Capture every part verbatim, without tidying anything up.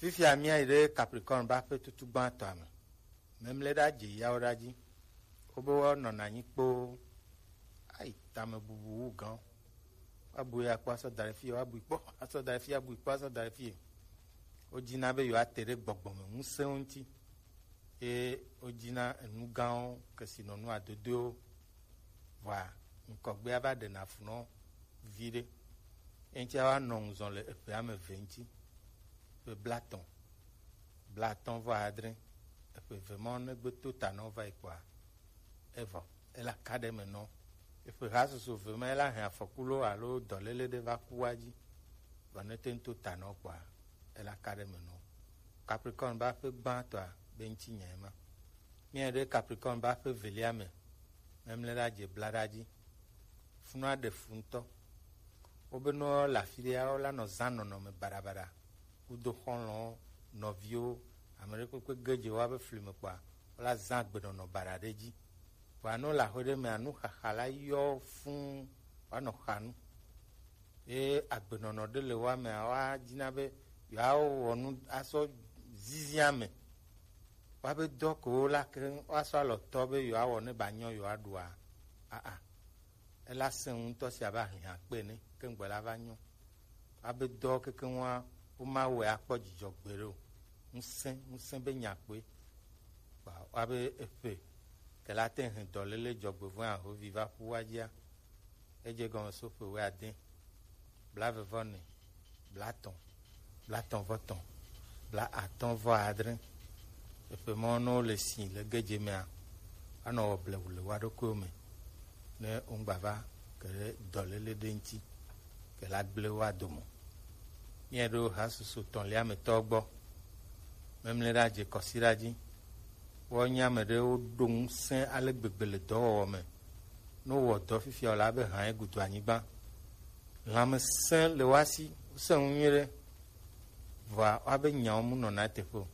Fifia míayi ɖe Capricorne ƒe aƒe tutu gbãtɔa me. Memle ɖa dze yawo ɖa dzi. Wobe woanɔna anyi kpoo. Ayi tame bubu wu gã. Woabu ya kpɔ asɔ da ɖe fie, woabu kpɔ asɔ da ɖe fie, woabu kpɔ asɔ da ɖe fie. Wodina be yewoate ɖe gbɔgbɔ me ŋusẽwo ŋuti. Ye wodina enu gãwo, kesinɔnu adodoewo. Vɔa, ŋkɔgbea va ɖena fu nɔ viɖe. Eŋuti awa nɔ ŋuzɔ le eƒe ame eve ŋuti. Ƒe blatɔ̃, blatɔ̃ vɔ adre, eƒe eve ma ne gbe to ta nɔ va yi kpɔa, evɔ, ela ka ɖe me nɔ. Eƒe ha susu eve ma ela hɛn afɔku lo alo dɔlele ɖe va ku wa dzi. Vɔ ne te ŋu to ta nɔ kpɔa, ela ka ɖe me nɔ. Capricorne ƒe aƒe gbãtɔa be ŋuti nya ema. Míayi ɖe Capricorne ƒe aƒe evelia me, memle ɖa dze bla ɖa dzi. Funua ɖe fu ŋutɔ. Wobe ne wole afi ɖea, wola nɔ zã nɔnɔme baɖabaɖa. Kudo xɔlɔ̃wo, nɔviwo, ame ɖe kpekpe ge dze woa be fli me kpɔa, wola zã agbenɔnɔ baɖa ɖe dzi. Vɔa ne wole aƒe ɖe mea, nuxaxa la yɔ fũu, woanɔ xa nu. Ye agbenɔnɔ ɖe le woa mea, woadina be yewoawɔ nu asɔ zizia me. Woabe dɔ ko wola keŋ woasɔ alɔ tɔ be yewoawɔ ne ba nyɔ yewoaɖua. Aa, ela sẽ ŋutɔ sia be ahlihã kpe ne keŋgbe la va nyɔ. Woabe dɔ kekeŋ wa woma wɔe akpɔ dzidzɔ gbeɖe o. Ŋusẽ, ŋusẽ be nya kpoe. Kpa woabe eƒe ke la te hɛn dɔlele dzɔgbevɔ̃e ahovi va ƒu wa dzia. Edze gɔme so ƒe wuiade, blaeve vɔ ene, blatɔ̃, blatɔ̃ vɔ etɔ̃, blaatɔ̃ vɔ adre. Eƒe mɔ ne wole si le gedze mea, anɔ wɔ blewu le woa ɖokuiwo me ne wogba va ke ɖe dɔlele ɖe ŋuti ke la gblẽ woa dome. Míaɖo hasusu etɔ̃lia me tɔ gbɔ. Memle ɖa dze kɔsi ɖa dzi. Woanye ame ɖewo ɖo ŋusẽ ale gbegbe le dɔwɔwɔ me. Ne wowɔ dɔ fifia o la, be hã egudu anyigba. Lãmesẽ le woa si, wosẽ ŋu nyuie ɖe. Vɔa woabe nyawo mu nɔna eteƒe o.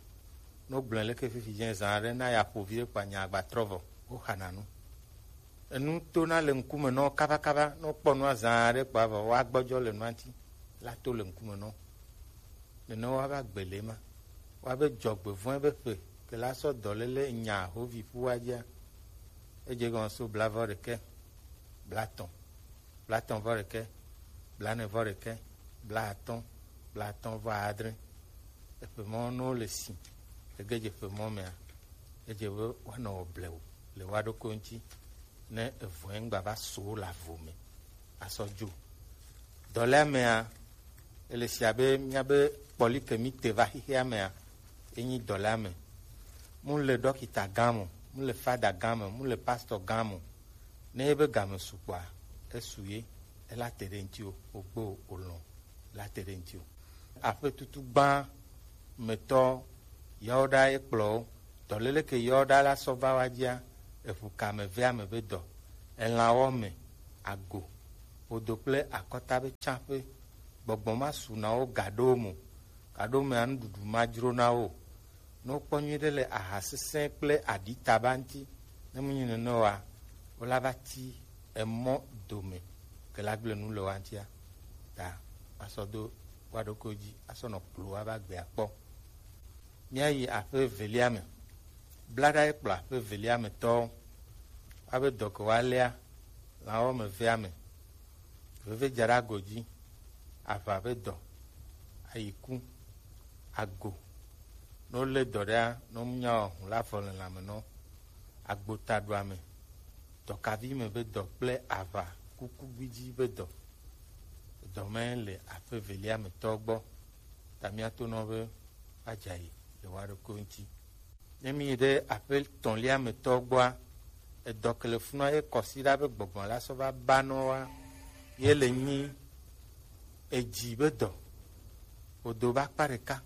Ne wogblɔe leke fifi dze zã aɖe na ya ƒo vi ɖe kpa nya agba trɔ vɔ, woxana nu. Enu tona le ŋkume nɔ kabakaba, ne wokpɔ nua zã aɖe kpa vɔ, woagbɔdzɔ le nua ŋuti, la to le ŋkume nɔ. Nene woava gbele ma. Woabe dzɔgbevɔ̃e be ƒe ke la sɔ dɔlele nya hovi ƒu wa dzia. Edze gɔme so blavɔ ɖekɛ, blatɔ̃, blatɔ̃ vɔ ɖekɛ, blane vɔ ɖekɛ, blaatɔ̃, blaatɔ̃ vɔ adre. Eƒe mɔ ne wole si, ege dze ƒe mɔ mea, edze be woanɔ wɔ blewu le woa ɖokui ŋuti ne evɔ̃e ŋgba va so wo le avo me asɔ dzo. Dɔlea mea, ele si abe míabe kpɔli ke mí te va xexea mea, enyi dɔlea me. Mu le ɖɔkita gã mo, mu le fada gã mo, mu le pastor gã mo. Ne ebe game su kpɔa, esu ye, ela te ɖe ŋuti o, ogbo o, olɔ̃, ela te ɖe ŋuti o. Aƒe tutu gbã metɔ yawo ɖa ekplɔ wo. Dɔlele ke yawo ɖa la sɔ va wa dzia, eʋu ka me ve ame be dɔ, elãwɔ me, ago, odo kple akɔta be tsaƒe, gbɔgbɔ ma su na wo gaɖo mo, gaɖo mea nuɖuɖu ma dzro na wo. Ne wokpɔ nyuie ɖe le aha sesẽ kple aɖi taba ŋuti, ne menye nene oa, wola va ti emɔ dome ke la gblẽ nu le woa ŋutia. Ta asɔ do woa ɖokuiwo dzi asɔ nɔ kplo woa va gbea kpɔ. Míayi aƒe evelia me. Blaɖa ye kplɔ aƒe evelia me tɔwo. Woabe dɔ ke woaléa lãwo me vea me. Veve dza ɖe ago dzi, aʋa be dɔ, ayiku, ago. Ne wolé dɔ ɖea, ne wonya wɔ hũ la vɔ le lãme nɔ. Agbotaɖuame, dɔkavi me be dɔ kple aʋa kuku gbidzi be dɔ. Dɔ mae le aƒe evelia me tɔ gbɔ. Ta míato nɔ be woadza yi le woa ɖokui ŋuti. Ne míyi ɖe aƒe etɔ̃lia me tɔ gbɔa, edɔ ke le funua ye kɔsiɖa be gbɔgbɔ la sɔ va ba nɔ wa, ye le nyi edzi be dɔ, odo be akpa ɖeka,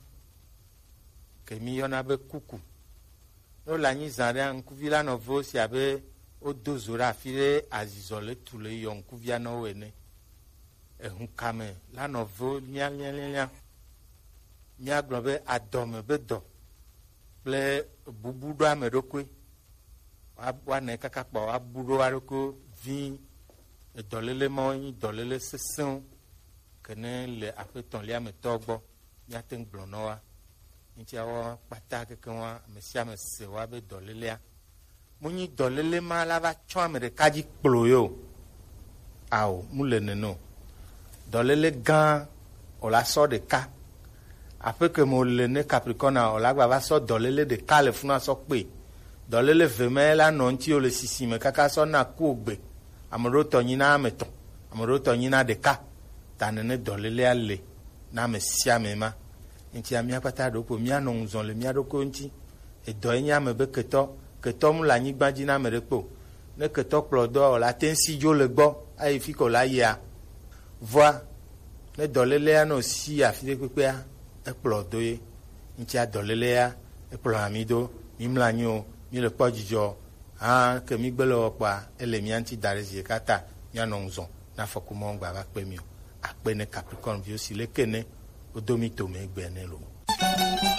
ke mí yɔna be kuku. Ne wole anyi zã ɖea, ŋkuvi la nɔ ve wo si abe wodo zo ɖe afi ɖe azizɔ le tu le yɔ ŋkuvia nɔ wo ene. Ehũ kame la nɔ ve wo lialialialia. Míagblɔ be adɔme be dɔ kple bubu ɖo ame ɖokui. Woa-, woanɛ kaka kpɔ woabu ɖo wa ɖokui vi. Edɔlele mawo nyi dɔlele sesẽwo ke ne le aƒe etɔ̃lia me tɔ gbɔ, míate ŋu gblɔ nɔ wa. Ŋutiawo kpata keke wa, ame sia ame se wa be dɔlélea, mu nyi dɔlélé ma la va tsɔ ame ɖeka dzi kplo ye o. Ao, mu le nene o. Dɔlélé gã, o la sɔ ɖeka. Aƒe ke me o le ne Capricorne a, o la gba va sɔ dɔlélé ɖeka le funu asɔ kpe. Dɔlélé ve ma la nɔ ŋuti o le sisi me kaka sɔ na ku ogbe. Ame ɖewo tɔ nyi na ame tɔn, ame ɖewo tɔ nyi na ɖeka. Ta nene dɔlélea le na ame sia ame ma. Ŋutia mía kpata ɖo kpo mía nɔ ŋuzɔn le mía ɖokuiwo ŋuti. Edɔ ye nye ame be ketɔ, ketɔ mu le anyigba dzi na ame ɖe kpo. Ne ketɔ kplɔ dɔ o la te ŋu si dzo le gbɔ ayi fi ko la yia. Vɔa, ne dɔlélea nɔ si afi ɖe kpekpea, ekplɔ do ye. Ŋutia dɔlélea ekplɔ ami do. Mi mla anyi o, mi le kpɔ dzidzɔ o. Hã ke mi gbe le wɔ kpɔa, ele mía ŋuti da ɖe zi ɖeka ta, mía nɔ ŋuzɔn na afɔku mɔ gba va kpe mi o. Akpe ne Capricorne viwo si leke ne wodo mi to me egbe ne lo.